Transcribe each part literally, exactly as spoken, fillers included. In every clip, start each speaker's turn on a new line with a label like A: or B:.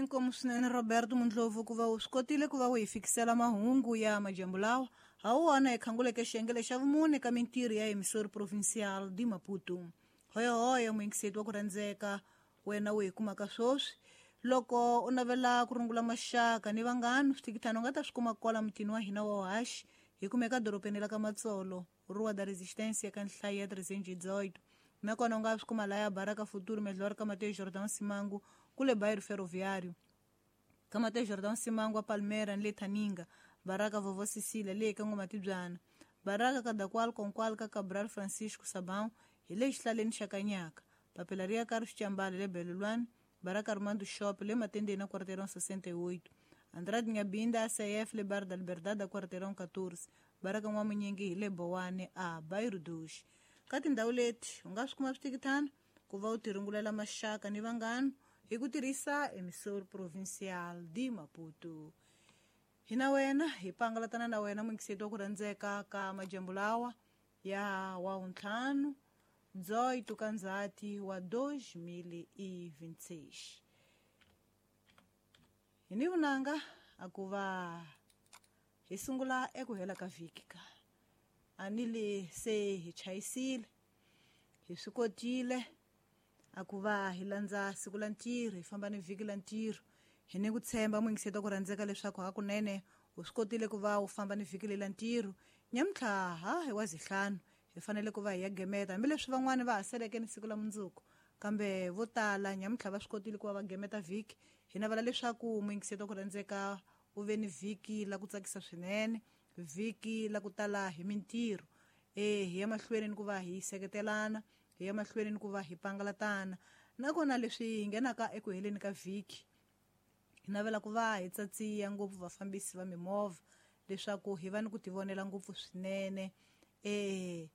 A: Inkomu swinene Roberto Mundlovu ku va u swi kotile ku va u hi fikisela mahungu ya madyambu lawa ha wona hi khanguleke xiyengele xa vumune ka mintirho ya Emissora Provincial de Maputo. Hoyohoyo muyingiseti wa ku rhandzeka wena u hi kumaka swoswi loko u navela ku rungula maxaka ni vanghana swithikithana u nga ta swi kuma kwala mutini wa hina wa Haxi hi kumeka dorobeni la ka Matsolo Rua da Resistência ka nhlayo ya trezentos e dezoito. Nakona u nga swi kuma laya Baraka Futuro Melhor ka Mateus Jordão Simango kule bairro Ferroviário. Ka Mateus Jordão Simango a Palmeira ni le Thaninga, Baraka Vovó Cecília le ka Ngomatibyana, Baraka Kadakwal Konkwal ka Cabral Francisco Sabão hi le xihlaleni xa Kanyaka, Papelaria Carlos Chambale le Belulwani, Baraka Armando Shop le Matendeni na Quarteirão sessenta e oito, Andrade Nhambinda A C F le Bar da Liberdade da Quarteirão catorze, Baraka N'wamunyingi hi le Bowane a Bairro dos. Ka tindhawu leti u nga swi kuma swithikithana ku va u tirungulela maxaka ni vanghana hi ku tirhisa Emissora Provincial de Maputo. Hi na wena hi pangalatana na wena muyingiseti wa ku rhandzeka ka madyambu lawa ya wa ntlhanu dezoito ka Ndzhati wa dois mil e vinte e seis. Hi ni vunanga a ku va hi sungula eku hela ka vhiki ka a ni le se hi chayisile hi swi kotile a ku va hi landza siku la ntirho hi famba ni vhiki la ntirho. Hi ni ku tshemba muyingiseti wa ku rhandzeka leswaku hakunene u swi kotile ku va u famba ni vhiki lela ntirho. Nyamuntlha ha hi wa zihlanu hi fanele ku va hi ya gemeta hambileswi van'wani va ha seleke ni siku la mundzuku kambe vo tala nyamuntlha va swi kotile ku va va gemeta vhiki. Hi navela leswaku muyingiseti wa ku rhandzeka u ve ni vhiki la ku tsakisa swinene, vhiki la ku tala hi mintirho. E hi ya mahlweni ni ku va hi seketelana, hi ya mahlweni ni ku va hi pangalatana. Nakona leswi hi nghenaka eku heleni ka vhiki hi navela ku va hi tsatsiya ngopfu vafambisi va mimovha leswaku hi va ni ku tivonela ngopfu swinene. E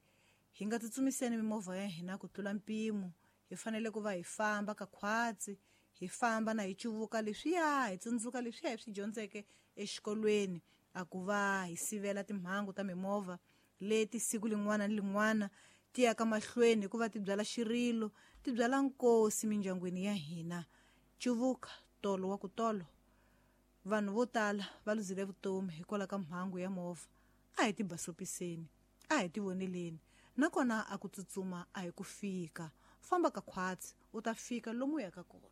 A: hi nga tsutsumiseni mimovha ya hina ku tlula mpimo, hi fanele ku va hi famba ka khwatsi, hi famba na hi cuvuka leswiya hi tsundzuka leswiya hi swi dyondzeke exikolweni a ku va hi sivela timhangu ta mimovha leti siku lin'wana ni lin'wana ti yaka mahlweni hikuva ti byala xirilo, ti byala nkosi mindyangwini ya hina. Cuvuka tolo wa ku tolo vanhu vo tala va luzile vutomi hikwalaho ka mhangu ya movha. A hi tibasopiseni, a hi tivoneleni, nakona a ku tsutsuma a hi ku fika. Famba ka khwatsi u ta fika lomu u yaka kona.